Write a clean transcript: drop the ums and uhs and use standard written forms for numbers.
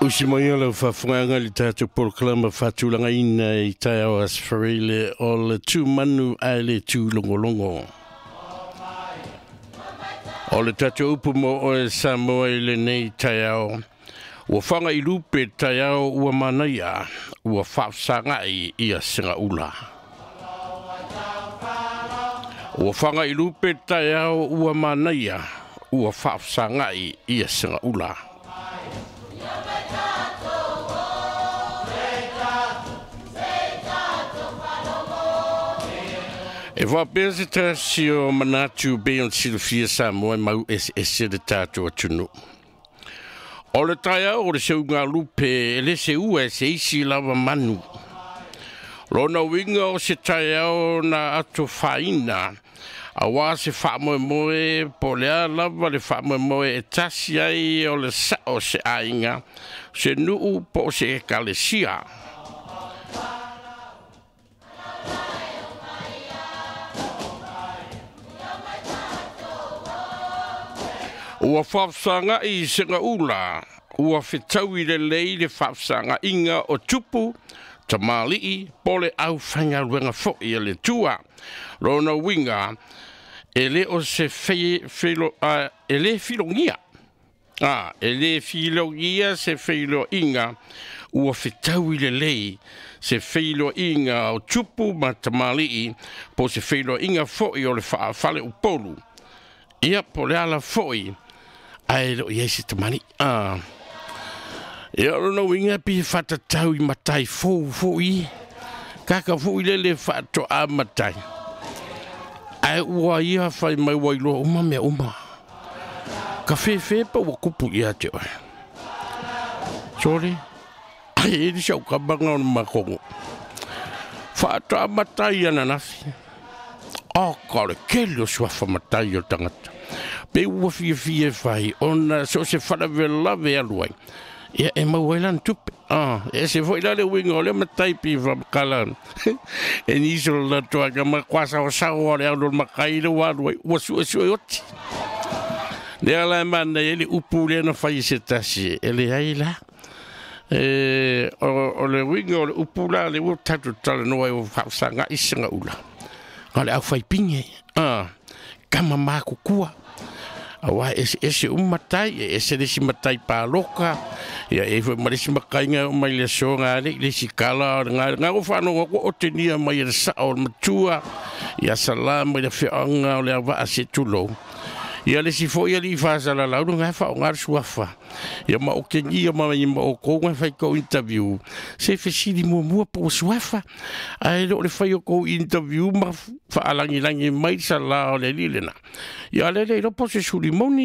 Usi mai o lau faafofogaga i le tatou polokalama faatulagaina i taeao Aso Faraile o le tu manu ae le tu logologo. O le tatou upu mo oe Samoa i lenei taeao, ua faga i lupe taeao ua manaia, ua faafesagai ia segaula. Ua faga i lupe taeao ua manaia, ua faafesagai ia segaula. E faapea se tasi o manatu pei ona silafia Samoa e mau eseese le tatou atunuu. O le taeao o le seugalupe e le seua e se isi lava manu. Lona uiga o se taeao na atofaina auā se faamoemoe po o le a lava le faamoemoe e tasi ai o le sao o se aiga, se nuu po o se ekalesia. Ua faafesagai i segaula, ua fetaui lelei le faafesagaiga o tupu, tamalii po o le aufaigaluega foi a le Atua. Lona uiga, e le o se feilo, e le filogia. E le filogia se feiloaiga ua fetaui lelei se feiloaiga o tupu ma tamalii po o se feiloaiga foi o le faafaleupolu. Ia, po o le ala foi, ae le o i ai se tamalii. Ia, o lona uiga pe faatatau i matai fou foi, kaka foi lele faatoa matai, ae ua ia fai mai ua iloa uma mea uma. Ka fefe pa ua kupu ia te oe. Sole, ai e le sau kamanga o le makongo. Faatoa matai ananafi. O, ka o le kele o suafa matai o le tagata. Pe ua fiafia e fai, ona so o se faalavelave e alu ai, ia e maua ai lana tupe. E ese foi la le uiga o lea matai pei faamatala e nisi o le latou aiga ma kuasaoasao o le alu o le matai lea ua alu ai, ua suesue oti. Lea la e manaia ai le upu lea na fai e se tasi, e leai la. E, o le uiga o le upu la lea ua tatou talanoa ai ua faafesagai segaula, na o le aufaipine, tama matutua. Aua e eseese uma matai, e ese le isi matai paloka, ia e i ai foi ma le isi matai na e oo mai le aso na alii le isi tala o le na ua faalogo atu ua otegia mai e le sao o le matua, ia Sala mai le afioaga o Leauvaa se i tulou. Ia le isi foi alii faasalalau lena e faaaoga le suafa. Ia ma otegia mai ma outou na fai tou interview, se fesili muamua po ua suafa, ae le o le fai o tou interview ma faalagilagi mai le sala o le alii lena. Ia a lea le iloa po o se suli moni.